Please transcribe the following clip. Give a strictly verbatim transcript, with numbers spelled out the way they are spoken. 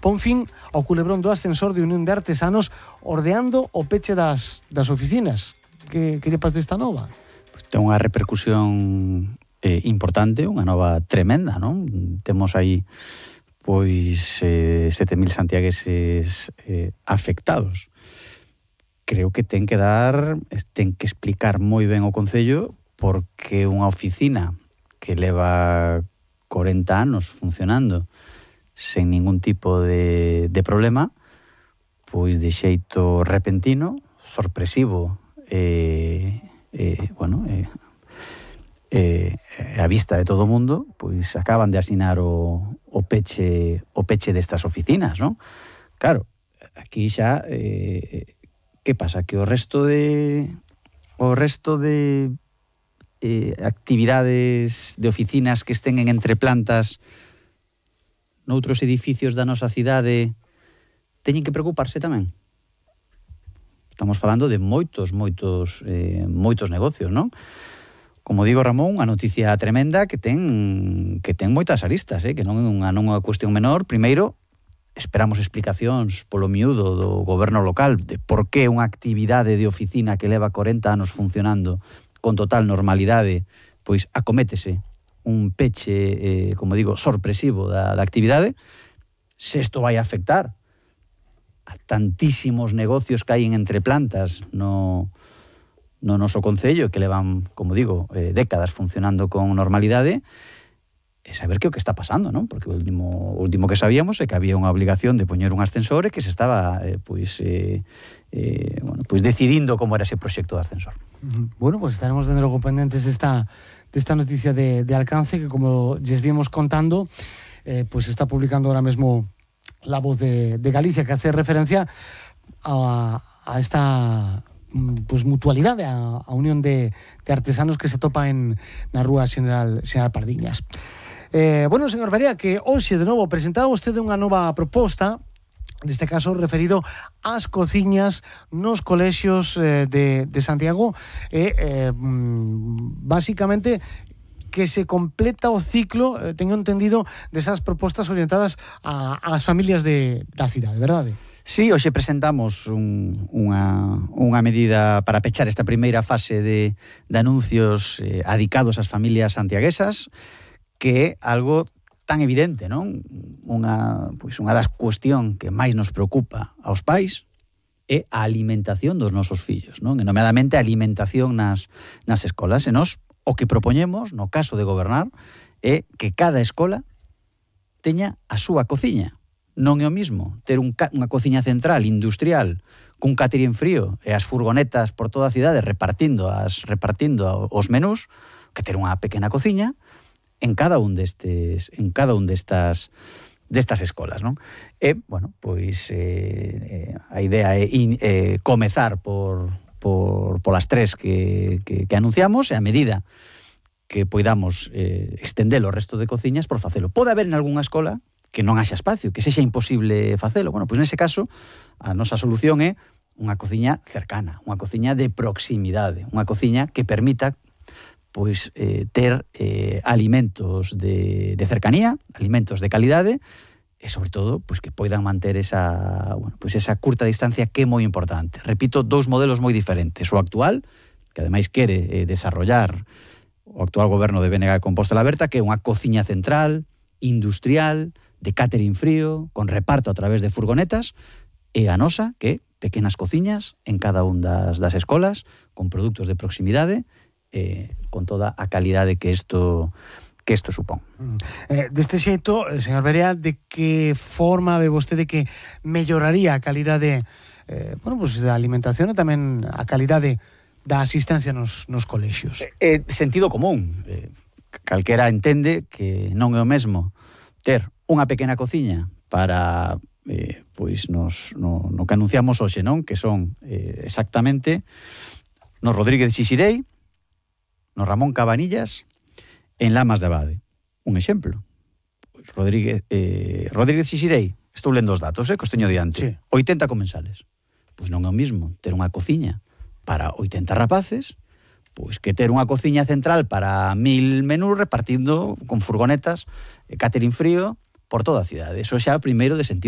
pon fin ao culebrón do ascensor de Unión de Artesanos ordeando o peche das, das oficinas. Que, que lle pasa desta nova? Pues ten unha repercusión eh, importante, unha nova tremenda, non? Temos aí pois eh, sete mil santiagueses eh, afectados. Creo que ten que dar, ten que explicar moi ben o Concello porque unha oficina que leva corenta anos funcionando sen ningún tipo de, de problema, pois de xeito repentino, sorpresivo, eh, eh, bueno, eh, eh, a vista de todo o mundo, pois acaban de asinar o, o peche o peche destas oficinas, non? Claro, aquí xa eh, que pasa? Que o resto de o resto de Eh, actividades de oficinas que estén en entreplantas noutros edificios da nosa cidade teñen que preocuparse tamén. Estamos falando de moitos, moitos, eh, moitos negocios, non? Como digo, Ramón, unha noticia tremenda que ten que ten moitas aristas, eh, que non é unha, non é unha cuestión menor. Primeiro, esperamos explicacións polo miúdo do goberno local de por que unha actividade de oficina que leva corenta anos funcionando con total normalidade, pois acométese un peche, eh, como digo, sorpresivo da, da actividade, se isto vai a afectar a tantísimos negocios que hai en entreplantas no, no noso Concello, que levan, como digo, eh, décadas funcionando con normalidade, e saber que o que está pasando, non? Porque o último, o último que sabíamos é que había unha obligación de poñer un ascensor e que se estaba eh, pois, eh, eh, bueno, pois decidindo como era ese proxecto de ascensor. Bueno, pues estaremos de logo pendentes desta, desta noticia de, de alcance que, como lles vimos contando, eh, pues está publicando ahora mesmo La Voz de, de Galicia, que hace referencia a, a esta pues mutualidade, a, a unión de, de artesanos que se topa en na rúa Xeneral, Xeneral Pardiñas. Eh, bueno, señor Barea, que hoxe de novo presentaba vostede unha nova proposta, neste caso referido ás cociñas nos colexios eh, de, de Santiago, e eh, basicamente que se completa o ciclo, eh, teño entendido, desas propostas orientadas a, ás familias de, da cidade, verdade? Sí, hoxe presentamos un, unha, unha medida para pechar esta primeira fase de, de anuncios eh, adicados ás familias santiaguesas, que é algo tan evidente, non? Unha, pois unha das cuestión que máis nos preocupa aos pais é a alimentación dos nosos fillos, non? E nomeadamente a alimentación nas, nas escolas. E nós o que propoñemos, no caso de gobernar, é que cada escola teña a súa cociña. Non é o mismo ter un, unha cociña central industrial cun catering frío e as furgonetas por toda a cidade repartindo as repartindo os menús que ter unha pequena cociña en cada un destes en cada un destas destas escolas, non? E, bueno, pois eh, eh, a idea é in, eh, comezar por por polas tres que, que, que anunciamos, e a medida que poidamos eh, extender o resto de cociñas por facelo. Pode haber en algunha escola que non haxa espacio, que sexa imposible facelo. Bueno, pois nese caso, a nosa solución é unha cociña cercana, unha cociña de proximidade, unha cociña que permita pois eh, ter eh, alimentos de, de cercanía, alimentos de calidade, e sobre todo pois que poidan manter esa, bueno, pois esa curta distancia que é moi importante. Repito, dous modelos moi diferentes. O actual, que ademais quere eh, desarrollar o actual goberno de Bénega de Compostela Berta, que é unha cociña central, industrial, de catering frío, con reparto a través de furgonetas, e a nosa, que é pequenas cociñas en cada un das, das escolas, con produtos de proximidade, eh, con toda a calidade que isto que isto supón. Eh, deste xeito, señor Barea, de que forma ve vostede que melloraría a calidade eh, bueno, pues, da alimentación e tamén a calidade da asistencia nos, nos colexios? É eh, sentido común. Eh, calquera entende que non é o mesmo ter unha pequena cociña para eh, pois nos, no, no que anunciamos hoxe, non? Que son eh, exactamente no Rodríguez de Xixirei, no Ramón Cabanillas, en Lamas de Abade. Un exemplo. Rodríguez, eh, Rodríguez Xixirei, estou lendo os datos, eh, que os teño diante. Sí. oitenta comensales. Pois non é o mismo ter unha cociña para oitenta rapaces, pois que ter unha cociña central para mil menús repartindo con furgonetas, eh, catering frío, por toda a cidade. Eso xa primeiro de sentido